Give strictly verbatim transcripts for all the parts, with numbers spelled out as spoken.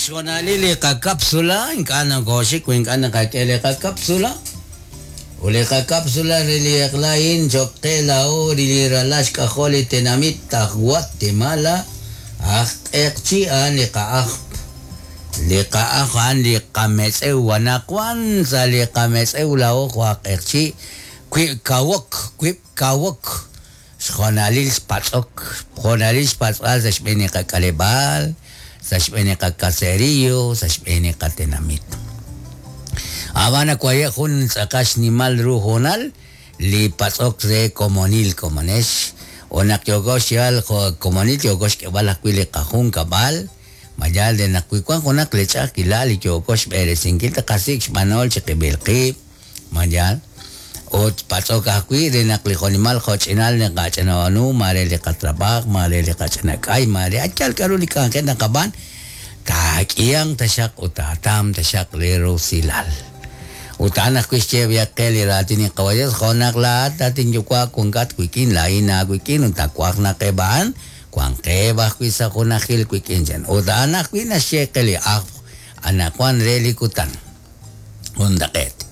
Xhonalil li qakapsula, ink'a' nokooxik wi ink'a' naqak'e li qakapsula. Ut li qakapsula re li eq'la a'in cho'q qe laa'o li ralal xk'ajol li tenamit aj Guatemala, aj Q'eqchi' a'an li qa'ajp. Li qa'aj a'an li qametz'ew anaqwan sa' li qametz'ew laa'o jo' aj Q'eqchi' wib' kawok, wib' kawok. Xhonalil xpatz'ok, xhonalil xpatz'b'al sa' xb'een li qak'aleb'aal, sa' xb'een li qakaserillo, sa' xb'een li qatenamit. Ab'an waye' jun tz'aqal xnimal ru hoonal li patz'ok re komonil komonex o naq yooko xyeeb'al jo' komonil yooko xk'eeb'al ajwi' li qajunkab'al mayal de naq wi wank junaq li ch'a'ajkilal li yooko xb'eresinkil taqasik' xb'anool chiqib'il qib' mayal ut patz'ok ajwi' re naq li jo'nimal jo'ch'inal naqach'inab'aanu mare li qatrab'aaj mare li qach'inak'ay mare yal k'a'ru li k'anjel naqab'aan taak'ihanq taxaq ut taatam taxaq li rusilal. Ut a'an ajwi' xye qe li raatin li Qawa Dios jo' naq laa'at at inyuwa' wankat wik'in laa'in aawik'in ut nawaj naq eb' a'an wanqeb' ajwi' sa' junajil wik'in chan. Ut a'an ajwi' naxye qe li ajw anaqwan re li kutan. Juntaq'eet.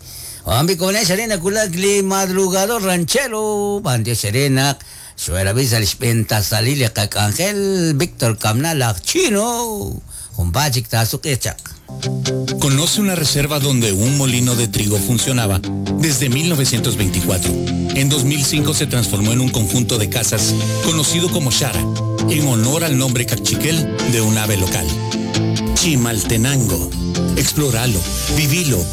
Oambi konex arena kulak li madrugador ranchero b'antiox re naq xwerab'i sa' li xb'een tasalil li qak'anjel Víctor Kamnal aj Chino junpaat chik taasuq'iiq chaq. Conoce una reserva donde un molino de trigo funcionaba desde mil novecientos veinticuatro. En dos mil cinco se transformó en un conjunto de casas conocido como Xara, en honor al nombre cachiquel de un ave local. Chimaltenango. Explóralo, vivilo.